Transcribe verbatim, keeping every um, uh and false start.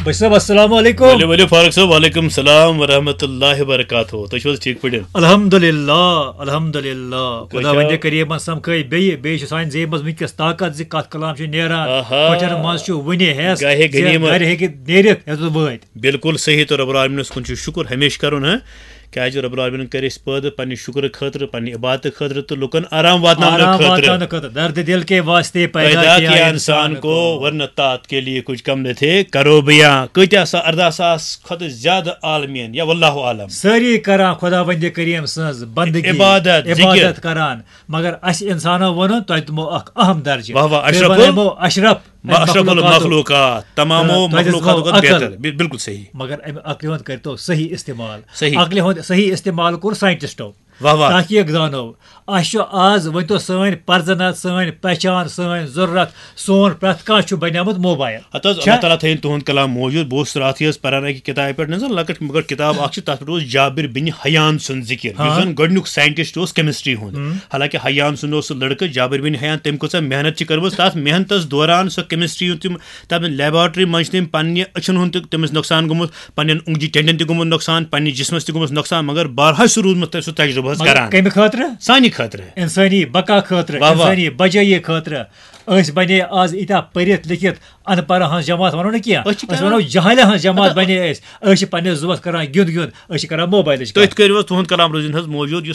بشیر صٲب، السلام علیکم۔ ؤلِو ؤلِو فاروق صٲب، وعلیکم السلام ورحمۃ اللہ وبرکاتہ۔ تُہۍ چھِو حظ ٹھیٖک پٲٹھۍ؟ الحمدللہ، الحمدللہ۔ خدا چھا؟ وندِ کریمن سمکھٲے بیٚیہِ، بیٚیہِ چھُ سانہِ زیبہِ منٛز وٕنکیٚس طاقت زِ کتھ کلام چھُ نیران، آہا۔ کۄٹھٮ۪ن منٛز چھُ وٕنہِ ہٮ۪س، گاہے زِ غنیمت۔ گرِ ہیٚکہِ نیٖرِتھ، یوٚتَتھ وٲتۍ۔ بالکل صحیح، تو رب العالمینس کُن چھُ شُکُر، ہمیشہِ کرُن، ہاں؟ کیازِ رب العالمینن کٔرۍ أسۍ پٲدٕ پننہِ شُکرٕ خٲطرٕ، پننہِ عبادتہٕ خٲطرٕ تہٕ لُکن آرام واتناونہٕ آرام خٲطرٕ۔ واتناونہٕ خٲطرٕ۔ درد دل کے واسطے پیدا پیدا کیا کیا انسان انسان کو۔ کو، ورنہ تات کے لیے کچھ کم نہ تھے، کرو بیان۔ کۭتیاہ سا، ارداہ ساس کھۄتہٕ زیادٕ عالمین، یا واللہ عالم۔ سٲری کران خدا وندِ کریم سٕنٛز بندگی، عبادت، ذکر۔ عبادت کران، مگر اسہِ انسانو ووٚنُن، تۄہہِ دِمو اکھ اہم درجہٕ۔ واہ واہ، تُہۍ اشرف ال- بنٲیمو اشرف اشرف مخلوقاتُک۔ المخلوقات، تمامو تہٕ تۄہہِ دِژمو مخلوقاتو کھۄتہٕ عقل۔ بہتر۔ بل-، بالکل صحیح۔ مگر امہِ عقلہِ ہُنٛد کٔرۍتو صحیح استعمال۔ صحیح۔ عقلہِ ہُنٛد صحیح استعمال کوٚر ساینٹسٹو۔ واہ واہ۔ تحقیق دانو۔ اسہِ چھُ آز، ؤنۍ تو، سٲنۍ پرزنت، سٲنۍ پہچان، سٲنۍ ضروٗرت، سون پرٛٮ۪تھ کانٛہہ چھُ بنیومُت موبایل۔ ہتہٕ حظ، چھا؟ اللہ تعالیٰ تھٲیِن تُہُنٛد کلام موجود۔ بہٕ اوسُس راتھٕے حظ پران اکہِ کِتابہِ پٮ۪ٹھ، نہ حظ، لۄکٕٹ مۄکٕٹ کِتاب اکھ چھِ، تتھ پٮ۪ٹھ اوس جابر بن حیان سُنٛد ذکر، یُس ہاں۔ زن گۄڈٕنیُک ساینٹسٹ اوس کیمسٹری ہُنٛد۔ حالانکہ حیان سُنٛد اوس سُہ لڑکہٕ، جابر بن حیان، تٔمۍ کۭژاہ محنت چھِ کٔرمٕژ۔ تتھ محنتس دوران سۄ کیمسٹری ہُنٛد تِم، تتھ لیبارٹری منٛز چھِ تٔمۍ پننہِ أچھن ہُنٛد تہِ تٔمِس نۄقصان گوٚمُت، پننٮ۪ن اونٛگجہِ ٹٮ۪نٛڈٮ۪ن تہِ گوٚمُت نۄقصان، پننِس جسمس تہِ گوٚمُت نۄقصان، مگر بہرحال چھُ روٗدمُت سُہ تجربہٕ حظ مگر کران۔ کمہِ خٲطرٕ؟ سانہِ خٲطرٕ۔ انسٲنی بقا خٲطرٕ، واہ واہ۔ انسٲنی بجٲیی خٲطرٕ۔ أسۍ بنے آز ییٖتیٛاہ پٔرِتھ لیکھِتھ، ان پڑھن ہٕنٛز جماعت ونو نہٕ کینٛہہ، أسۍ چھِ أسۍ کیٛاہ؟ ونو جہالن ہٕنٛز جماعت بنے أسۍ۔ أسۍ چھِ پننِس زُوس کران گیُنٛد گیُنٛد، أسۍ چھِ کران موبایلٕچ تُہۍ کتھ۔ کٔرِو حظ، تُہُنٛد کلام روزِن حظ موجود، یُس